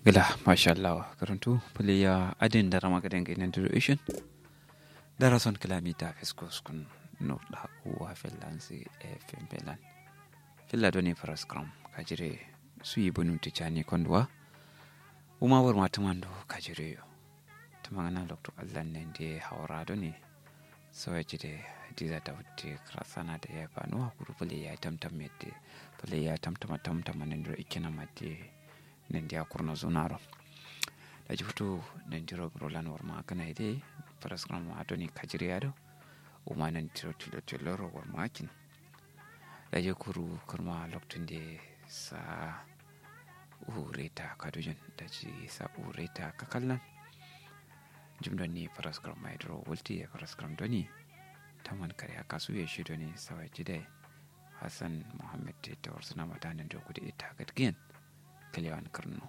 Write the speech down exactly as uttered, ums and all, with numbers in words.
Gla mashallah, karuntu pulai ya adin dara magadan ga inan duro ishin. Dara son klamita fisko skun nokta uwa fellansi. Fm fellan filla doni faraskram kajire suyi bunu tijani konduwa. Uma wurma tumando kajire yo. Tumangana loktu allan nende hawara doni. Soya jide hadiza ta wutte krasana da ya banuwa kuru pulai ya tamtam yadde. Pulai ya tamtama tamtama nendiro ikkina madde. Nandiya kurno zunaro. Daji futu nandiro burolan warma akana ide. Faraskram adoni kajire ado. Uma nandiro tilo tiloro warma akin. Daji kuru kurma loktunde sa ureta kadujin. Daji sa ureta kakallan. Jim doni faraskram maidro wulti ya faraskram doni. Taman kare akasu ya shi doni sawai jidai. Hassan muhammad te tawar suna mata nandiro kudi ita gadgiyan. Kalewan karno.